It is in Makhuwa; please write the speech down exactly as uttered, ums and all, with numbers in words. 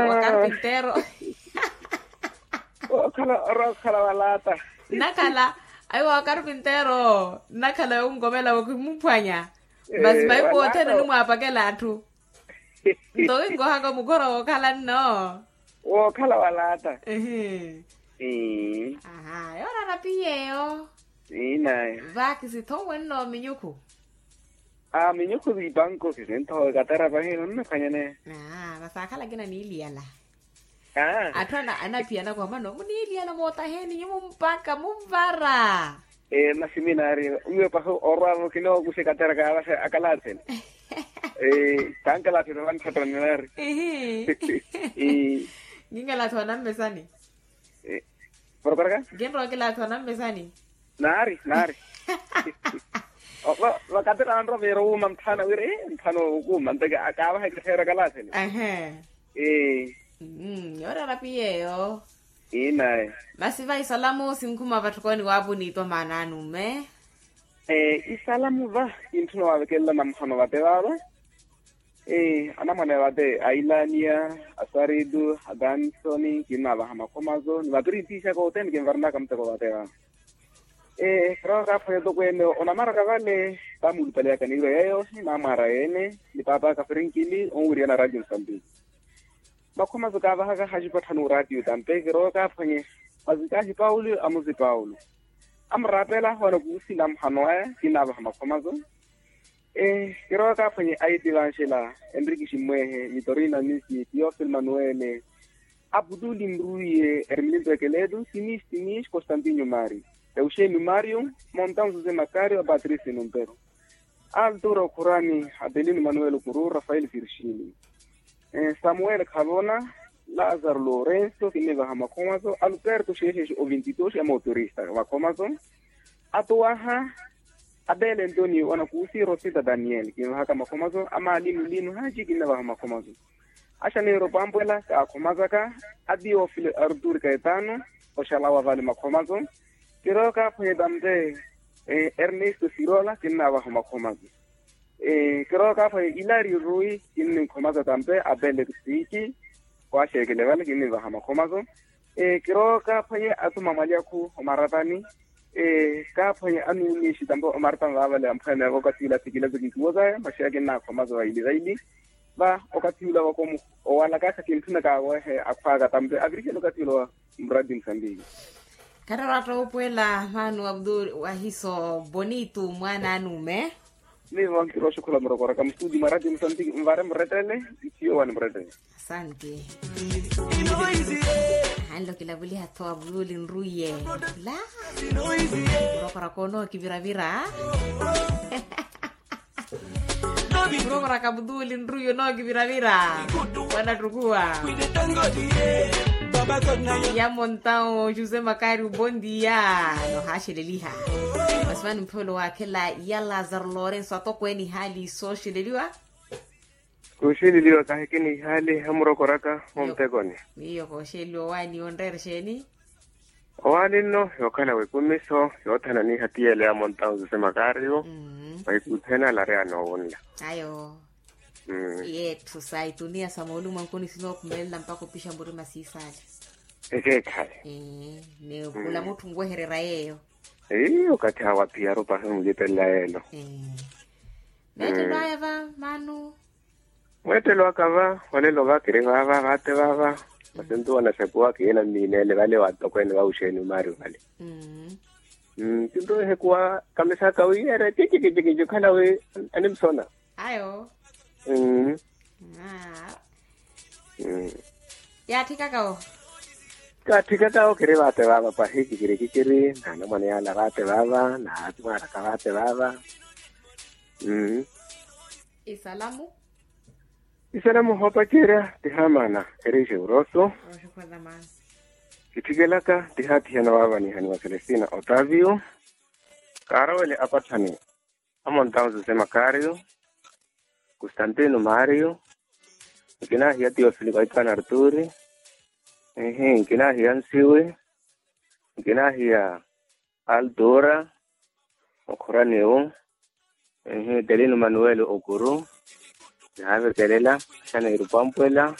Wakarpintero. Okhala orookhala walaata. Nnakhala. Ayi wakarpintero nnakhala yonkomela wakimuphwanya. Masi mahiku othene onimwaapakela atthu. Nto winkohaka mukhora wookhala nno. Wookhala walaata. Ehe. Aha yoorara piyeyo. Inaye. Vakisitho wenno minyukhu. A minyukhu vipanko kisintho katera pahino nnaphwanyane. Aa vasaakhala kina niiliyala. Atthu anaphiyana kwamano muniiliyana mootaheni nyumu mpakha munvara. Ee masi minaari. Wiwe pahi orwavo kinookuxe katera kaavaxe akalatheni. Ee kankalatheni vantthotto ninaari. Ihi. Kinkalathi wanammesani. Vorokoraka. Kinrowa okilathi wanammesani. Naari naari. Vakatira anromeera wuuma mtthana wira mtthana okuuma nteke akaavaha ekittheera kalaatheni. Ee. Yoorara piyeyo. Inaye. Masi va isalamu sinkhuma vatthukooni waapu niitwa maana anume. Isalamu va kintthuna waavekelela namuhano vate vaava. Anamwane vate a ilania, asaridu, adanson, kinnaavaha makhomazo ni vapirintixaka othene kinvaranaka muteko vate vaava. Kirowa kaaphwanya otokweene onamaraka vale. Vamuulupaleyaka niiro yeeyo ni namwaara yeene ni paapaka frinkili onwiriyana radio mosambiki. Makhomazo kaavahaka haxipa tthanu radio tampe kirowa kaaphwanye. Mazikahi paulo amuzi paulo amuraapela wanakuusi namuhano aya kinnaavaha makhomazo. Kirowa kaaphwanye aiti vanxela, enriki ximmwehe, mitorina misi, tiofil manuele, aputuli nruye, ermilinto ekeletu, tinis tinis constantinio mario, euxenio mario, montan jose macario a patricio numpero, altura okhurani, adelino manuel okuru rafael virgini, samuel khavona, lazaro lorenso kinnivaha makhomaso, alberto xexexi o vintidoxi a motorista makhomaso, atuwaha, abele antonio wanakusi rosita daniel kinvahaka makhomaso, amalinu linu haci kinnavaha makhomaso, axaneiro pampwela kaakhomasaka, atiofilo arturi kaetano, oxalawa vale makhomaso, kirowa kaaphwanye tampe, ernesto sirola kinnavaha makhomaso, kirowa kaaphwanye ilario rui kinnikhomasa tampe abele kusiki, waaxeekele vale kinnivaha makhomaso, kirowa kaaphwanye atuma mwalyakhu omaratani, kaaphwanye anuumixi tampe omaratani vaavale amphwene vaka siilatikilatikiki wozaya maxiya kinnaakhomasa vaili vaili, va okathi ula vakomu owalakaka kintthunaka awehe akhwaka tampe avirihela okathi ula wa muradi musambiki. Khattara watta oopwela mano abdul wahiso bonito mwaana anume. Nivo nkirooxukhula murokoraka mustudi mwaradi musambiki nvare murettele. Nthiyo wani murettele. Asanti. Anlokilavuliha tho abdul nruye. La murokoraka onookiviravira. Murokoraka abdul nruye onookiviravira. Wanattukuwa. Yamontao jose makario bondia. Nohaxeleliha. Masi vano mphewelo waakhela ya lazaro lorenso atokweene ihaali sooxeleliwa. Kuxeleliwa kahikina ihaali hamurokoraka. Ontekoni. Miyo kooxeleliwa owaani onreera exeeni? Owaani nno yookhala wekumiso yoothananiha tiyele ya montaun jose makario. Vaikuthena lari anoowunla. Ayo. Yeetthu sa ituniya sa moolumankuni sinookhumelela mpakha opixa murima siisaale. Ekeekhale. Ni khula mutthu nwehererya yeeyo. Ii okathi awo aphiyaru pahi omulipelela yeelo. Meettelo aya va manu. Mweettelo aka va olelo va kiri vaava vaate vaava. Masi ntuwa naxekuwa kiye nammiineele vale wa atokweene va uxeeni omaari vale. Kinrowa ehekuwa kamisaka wi ere kikikikiki okhala wi animsona. Ayo. Yaatthikaka wo. Kaatthikaka wo kiri vaate vaava pahi kikiri kikiri na anamwane yaala vaate vaava na atmwaraka vaate vaava. Isalamu. Isalamu hoopacerya ti haamana erixe uroso. Kitthikelaka ti haathiyana waavanihaniwa celestina otavio. Kaarowele apatthani amontau jose makario, constantino mario, nkinahiya tiofili kaitano arturi, ehi nkinahiya nsiwi, nkinahiya altura, okhuraniwu, ehi telino manuel okuru, naavekelela, axaneiru pampwela.